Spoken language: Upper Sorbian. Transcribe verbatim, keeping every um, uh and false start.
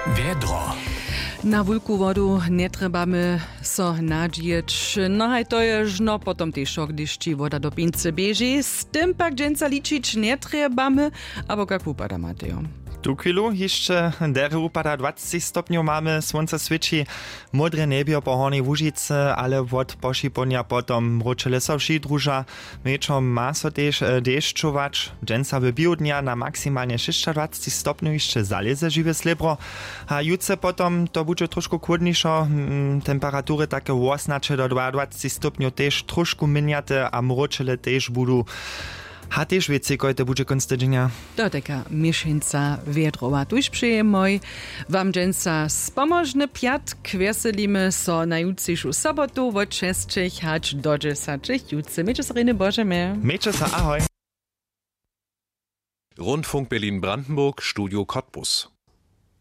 Wjedro. Na wulku wodu njetrjebamy so nadźijeć. No haj to je žno potom tež wšo hdyž ći woda do pincy běži, z tym pak dźensa ličić njetrjebamy. Abo kak wupada, Matejo? Tu chwilu hišće derje wupada, dwacci stopnjow mamy, słónce swěći. Módre njebjo po hornjej łužicy, ale wot pošipołdnja potom mróčele so wši druža. Wječor ma so tež dešćować. Dźensa w běhu dnja na maksimalnje šěsćadwacci stopnjow hišće zalěze žiwe slěbro. A jutře potom to budźe tróšku chłódnišo. Temperatury take wosnaće do dwaadwacci stopnjow tež tróšku měnjate a mróčele tež budu. A tež wěcej kojte budźe kónc tydźenja. To je taka měšeńca wjedrowa tuž přejemoj. Wam dźensa spomožny pjatk, wjeselimy so na jutřišu sobotu wot šesćich hač do dźesaćich jutře. Mějće so rěny božemy. Mějće so, ahoj. Rundfunk Berlin-Brandenburg, Studio Cottbus.